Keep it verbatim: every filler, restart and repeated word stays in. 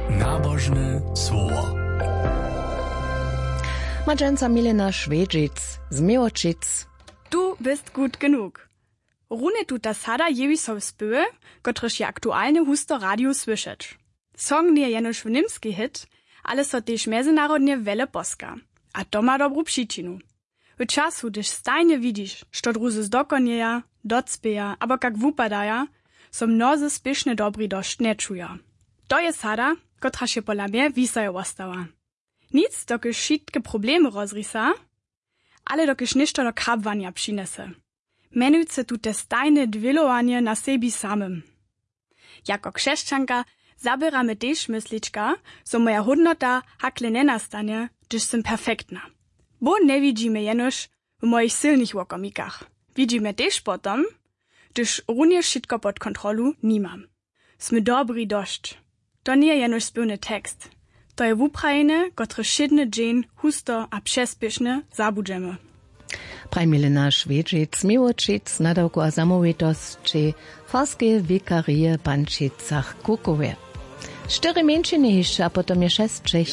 Nabožne słowo. Ma dźensa Milena Šwedźic z Měłočic. Tu běstku tkenuk. Rune tuta sada jewi so w spěwy, kotryž je aktualnje husto w radiju słyšeć. Song njeje jenož w němskej hit, ale so tež mjezynarodnje wjele poska. A to ma dobru přičinu. W času hdyž stajnje widźiš što druzy zdokonjeja, docpěja abo kak wupadaja, so mnozy spěšnje dobri dosć nječuja. To je sada, kotraž je pola mje wisajo wostała. Nic dokelž wšitke problemy rozrisa, ale dokelž něšto do chabłanja přinjese. Mjenujcy tute stajne dwělowanje na sebi samym. Jako křesćanka zaběra mje tež myslička, zo moja hódnota hakle njenastanje hdyž sym perfektna. Bóh njewidźi mje jenož w mojich sylnych wokomikach. Widźi mje tež potom, hdyž runje wšitko pod kontrolu nimam. Smy dobri dosć. To njeje jenož spěwny tekst. To je wuprajenje kotrež wšědny dźeń husto a přespěšnje zabudźemy. Praj milena šwědźic miłočic nadawku a zamołwitosći farskeje wikarije w pančicach kukowje. Štyri mjeńšiny hišće a potom je šesć čech.